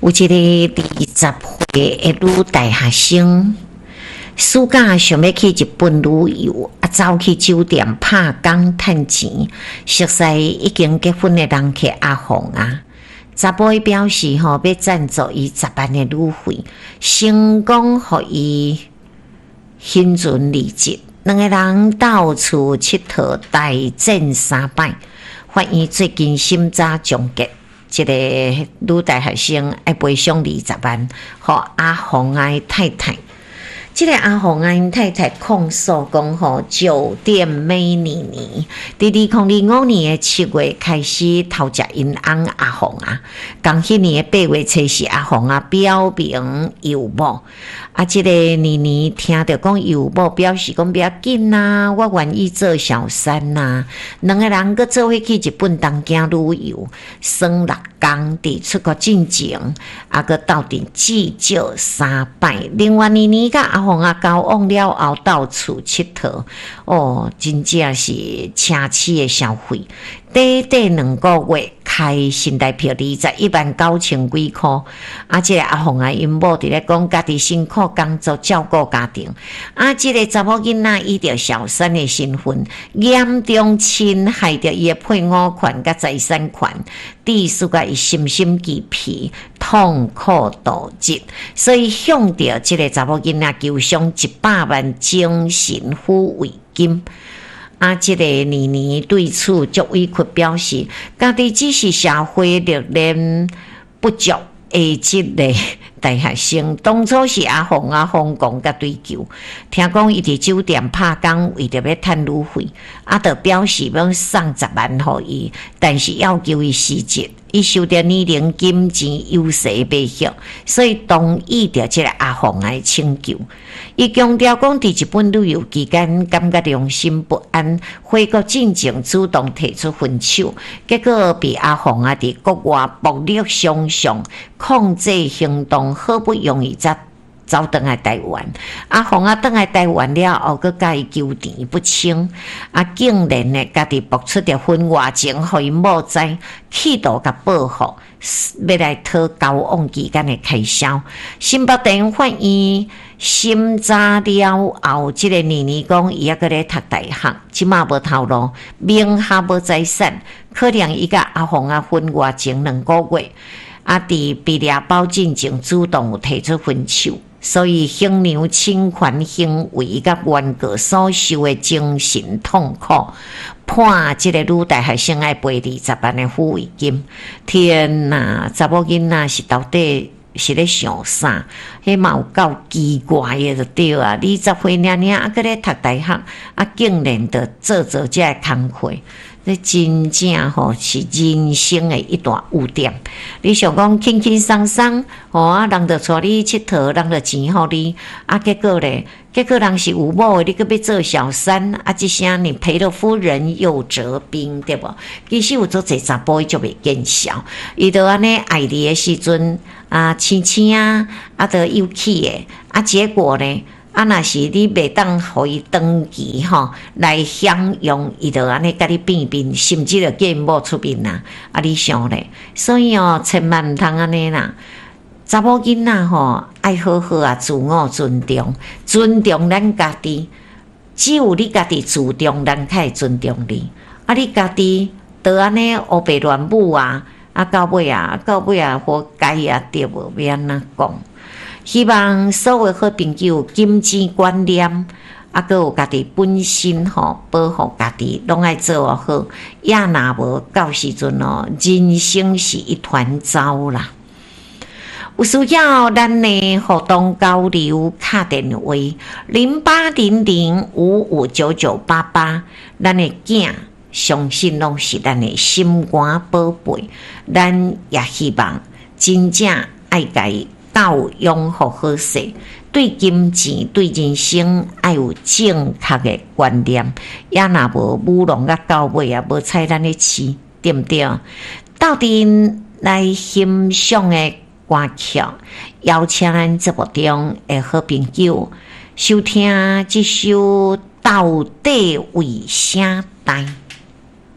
有一个20歲的女大學生，暑假想欲去日本旅遊，啊，走去酒店拍工趁錢，熟似已經結婚的人客阿鳳啊，查埔伊表示吼欲贊助伊十萬的旅費，成功予伊興船離職，兩个人到處𨑨迌，大戰三擺，法院最近審查終結。這个女大學生愛賠償20萬，予阿鳳仔的太太。這个阿鳳仔𪜶太太控訴講吼，酒店美妮妮佇2025年的7月開始偷食𪜶翁阿鳳仔，仝彼年的8月初四，阿鳳仔表明有某。啊，這个妮妮聽著講有某，表示講欲要緊啊，我願意做小三啊。兩个人閣做伙去日本東京旅遊，耍六工，佇出國進前，啊，閣鬥陣至少三擺。另外，妮妮佮阿鳳仔交往了後，到處𨑨迌，哦，真正是奢侈的消費。短短2個月，開新台票21萬9千幾箍。啊，這个阿鳳仔𪜶某佇咧講，家己辛苦工作照顧家庭。啊，這个查某囡仔以著小三的身份，嚴重侵害著伊的配偶權佮財產權，致使甲伊身心俱疲，痛苦度日。所以向著這个查某囡仔求償100萬精神撫慰金。啊，這个妮妮對此足委屈，表示家己只是社會歷練不足的這个大學生，當初是阿鳳仔瘋狂共追求，聽講伊佇酒店拍工，為著欲趁旅費，啊，就表示欲送十萬予伊，但是要求伊辭職，伊受著年齡、金錢優勢迷惑，所以同意著這个阿鳳仔的請求。伊強調講，佇日本旅遊期間感覺良心不安，回國進前主動提出分手，結果被阿鳳仔佇國外暴力相向，控制行動，好不容易才走轉來台灣。阿鳳仔轉來台灣了後，閣共伊糾纏不清，啊，竟然呢，家己爆出著婚外情，予𪜶某知，企圖共報復，欲來討交往期間的開銷。新北地法院審查了後，這个妮妮講伊猶閣咧讀大學，這馬無頭路，名下無財產，可能伊佮阿鳳仔婚外情2個月，啊，佇畢業包進前主動有提出分手，所以衡量侵權行為佮原告所受的精神痛苦，判這个女大學生愛賠20萬的撫慰金。天哪，查某囡仔是到底是咧想啥？彼嘛有夠奇怪的就對啊！20歲爾爾，猶閣咧讀大學，啊，竟然就做做這个工課，這真正吼是人生的一大污點。你想講輕輕鬆鬆，吼啊，人就帶你𨑨迌，人就錢予你，啊，結果咧，結果人是有某的，你閣欲做小三，啊，這聲你賠了夫人又折兵，對無？其實有足濟查埔伊足袂見笑，伊就按呢愛你的時陣，啊，親親啊，啊，都有趣的，啊，結果呢，啊，若是你袂當予伊長期吼來享用，伊就按呢共你變面，甚至就叫𪜶某出面啊！啊，你想咧？所以哦，千萬毋通按呢啦。查某囡仔吼，愛好好啊，自我尊重，尊重咱家己。只有你家己自重，人才會尊重你。啊，你家己都按呢烏白亂舞啊！啊，到尾啊，到尾啊，活該啊，對無？欲按怎講？希望所有好朋友金錢觀念，啊，閣有家己本身吼，保護家己，攏愛做好。也若無到時陣哦，人生是一團糟啦。有需要咱的互動交流，敲電話0800559988，咱的囝相信攏是咱的心肝寶貝，咱也希望真正愛共伊教養予好勢，對金錢、對人生愛有正確的觀念，也若無舞弄甲到尾啊，無采咱咧飼，對毋對？鬥陣來欣賞的歌曲，邀請咱節目中的好朋友收聽這首《到底為啥代》。